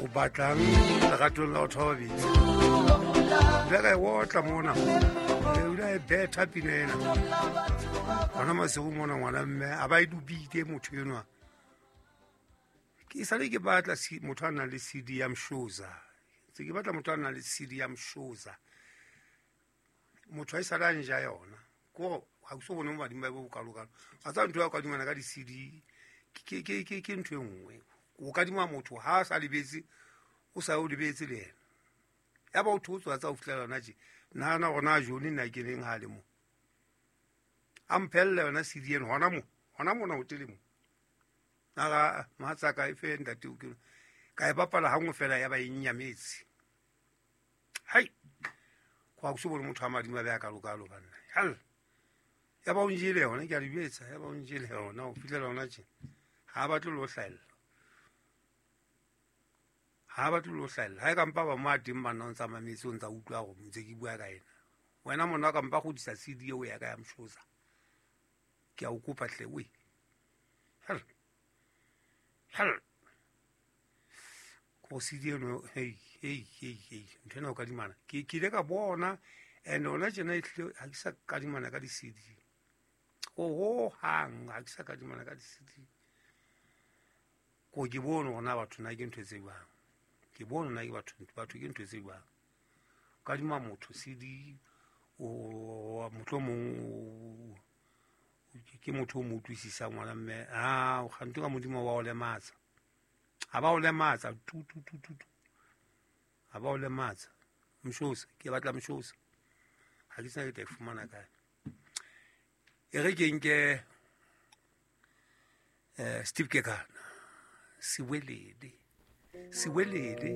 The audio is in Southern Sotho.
O batlang leratong la batho ba babedi. Ile ka e otla mona, o ile a e betha pina ena gona masigo mona. Ngwana mme a ba e dubile motho enwa. Ke sale ke batla motho a nang le CD ya Mshoza, ntse ke batla motho a nang le CD ya Mshoza. Motho a e sale a nja yona ko ga ke so bone mo badimo ba bo bokalokalo. Ga tsa ntho ya kadimana ka di-CD ke ntho e nngwe. O kadima motho ha a sa lebetse, o sa o lebetse le ena, ya ba o thotse wa tsa o fitlhela yona je. Nahana gona jone nna ke leng ha le mo a mphelela yona CD eno gona mo, gona mona hotele mo. Nara mohatsaka e fe ntate o ke ka e bapala gangwe fela, ya ba e nnyametse. Hai, go a se bone motho a madimo a be a kalokalo banna. Hal ya ba o njele yona, ke a le jwetsa, ya ba o njele yona o fitlhela yona tje. Ga a batle le o hlaella, ga a batle le o hlaella. Ga e kampa ba mo a teng banna, o ntsa mametse, o ntsa utlwa gore ntse ke bua ka ena. Wena monna o kampa godisa CD eo ya ka ya Mshoza, ke a o kopa tle we. Hel hel, go CD eno. Hei hei hei hei, ntho ena o kadimana ke ile ka bona. And ona tjena ehlile ga ke sa kadimana ka di-CD go hohang, ga ke sa kadimana ka di-CD. Ko ke bone gona batho na ke ntho tse jwang, ke bone na ke batho, batho ke ntho tse jwang. Kadima motho CD o mohlomong ke motho o mo utlwisisang, ngwana mme a gante ka modimo wa o lematsa, ga ba o lematsa tu tu tu tu tu, ga ba o lematsa. Mshosa, ke batla Mshosa, ga ke tsena ke tla e fumana kae. E re ke nke Steve Kekana, Siwelele, Siwelele.